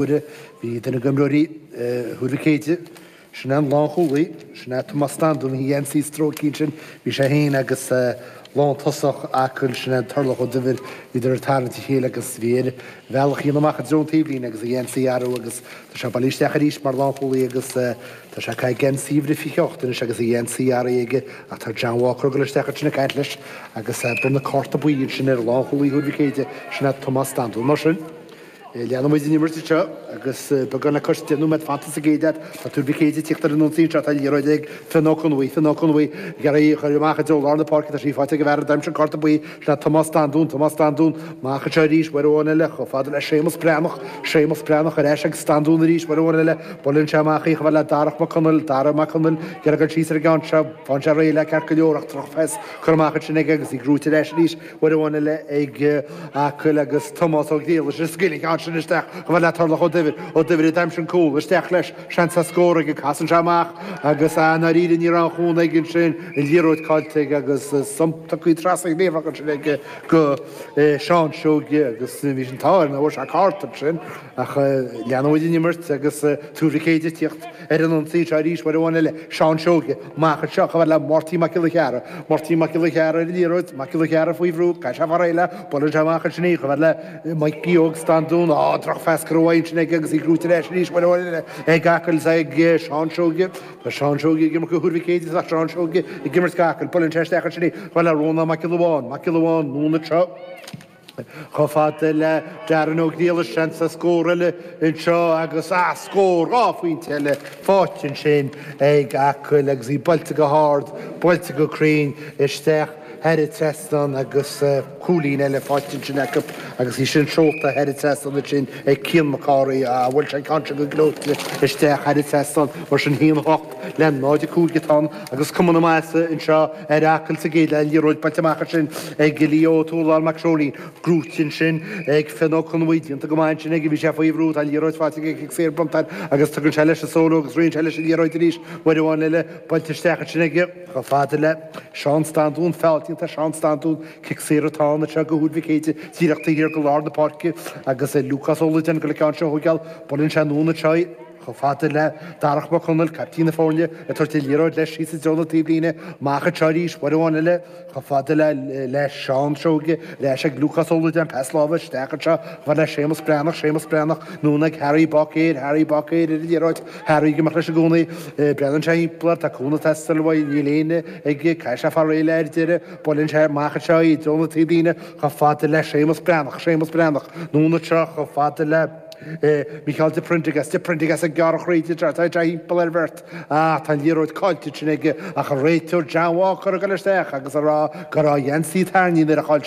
Uaire bhí duine d'imreoirí Thuar Mhic Éide, sin é an lánchúlaí, sin é Tomás Standún, a gheansaí stróicthe ansin, bhí sé féin agus lántosach Acaill, sin é Turlough Ó Duibhir, bhíodar ag tarraingt a chéile agus bhí air a bhealach a dhéanamh amach i dtreo an taobhlíne agus a gheansaí a athrú agus tá sé bailithe isteach arís mar lánchúlaí agus tá sé ag caitheamh geansaí uimhir a 28 anois agus a gheansaí athraithe aige ach tá John Walker ag dul isteach ansin ag caint leis agus bronnadh cárta buí ansin ar lánchúlaí Thuar Mhic Éide, sin é Tomás Standún. Mar sin. Leanfaidh muid an imirt anseo agus beagán le cois 10 nóiméad fanta sa gcéad leath. Tá Tuar Mhic Éide ag tíocht ar an ionsaí anseo. Tá an liathróid ag Fionn Ó Conbhuí. Fionn Ó Conbhuí ag iarraidh í a chur amach i dtreo lár na páirce. Tá sí faighte ag an bhfear a d'aimsigh an cárta buí. Sin é Tomás Standún. Tomás Standún amach anseo arís. Uair amháin eile chomh fada le Séamus Breathnach. Séamus Breathnach ar ais ag Standún arís. Uair amháin eile buaileann sé amach í chomh fada le Darach Mac Conaill. Darach Mac Conaill ag iarraidh dul síos ar an gceann seo. Faigheann sé réidh le ceart go leor ach drochphas curtha amach ansin aige agus í gnóite ar ais arís. Uair amháin eile ag Acaill agus Tomás Ó Griallais ag scaoileadh an ceann sin isteach chomh fada le Turlough Ó Duibhir. Ó Duibhir a d'aimsigh an cúl. Isteach leis. Seans ar scór aige. Casann sé amach agus i ndáiríre ní raibh aon chúnamh aige ansin. An liathróid caillte aige agus tugtha trasna an chliabhrach ansin aige go Seán Seoige agus bhí an t-ádh air nach bhfuair sé cárta ansin. Ach leanfaidh muid an imirt agus Tuar Mhic Éide ag tíocht ar an ionsaí anseo arís uair amháin eile. Seán Seoige amach anseo chomh fada le Máirtín Mac Giolla Chearra. Máirtín Mac Giolla Chearra ar an liathróid, Mac Giolla Chearra faoi bhrú, caithfidh sé fáil réidh léi, buaileann sé amach ansin í chomh fada le Mikey Óg Standún. Á, drochphas curtha uaidh ansin aige agus í gnóite ar ais arís uair amháin eile ag Acaill is ag Seán Seoige. Tá Seán Seoige ag imirt do Thuar Mhic Éide tá Seán Seoige ag imirt d'Acaill. Buaileann sé isteach ansin í chomh fada le Rónán Mac Giolla Bháin. Mac Giolla Bháin, anonn anseo. Chomh fada le Darren Ó Griallais, seans ar scór eile anseo agus scór 2 phointe eile faighte ansin ag Acaill agus í buailte go hard, buailte go cruinn isteach thar an trasnán agus cúilín eile faighte ansin acu agus í sin seolta thar an trasnán ansin ag Cian Mac Cárthaigh. Bhuail sé an ceann sin go gleoite isteach thar an trasnán mar sin 1-8 le 0-5 atá ann agus cuma na maitheasa anseo ar Acaill sa gcéad leath, liathróid buailte amach ansin ag Leo Ó Tuathaláin Mac Seoilín, gnóite ansin ag Fionn Ó Conbhuí, déanta go maith ansin aige, bhí sé faoi bhrú, tá an liathróid faighte aige, cic saor bronnta air agus tugann sé leis an solo agus ritheann sé leis an liathróid arís, uair amháin eile, buailte isteach ansin aige, chomh fada le Seán Standún, feall déanta ar Seán Standún, cic saor atá ann anseo do Thuar Mhic Éide, díreach taobh thiar de lár na páirce agus Lúcás Ó Loideáin ag dul an ceann seo a thóigeáil, buaileann sé anonn anseo í. Chomh fada le Darach Mac Conaill, caiptín na foirne, ag tabhairt an liathróid leis síos i dtreo na taobhlíne. Amach anseo arís, uair amháin eile, chomh fada le le Seán Seoige, ar ais ag Lúcás Ó Loideáin, pas láimhe isteach anseo, chomh fada le Séamus Breathnach, Séamus Breathnach, anonn ag Harry Báicéir, Harry Báicéir ar an liathróid, Harry ag imeacht leis i gcónaí, breathnaíonn sé thimpeall air, tá cúnamh ag teastáil uaidh, níl éinne aige, caithfidh sé fáil réidh léi ar deireadh, buaileann sé amach anseo í i dtreo na taobhlíne, chomh fada le Séamus Breathnach, Séamus Breathnach, anonn anseo, chomh fada le. Micheál de Prendergast, de Prendergast ag gearradh thríd anseo, tá sé thimpeall ar bheirt ach tá an liathróid caillte ansin aige ach an réiteoir John Walker ag dul isteach agus a rá go raibh a gheansaí tarraingthe nuair a chaill sé.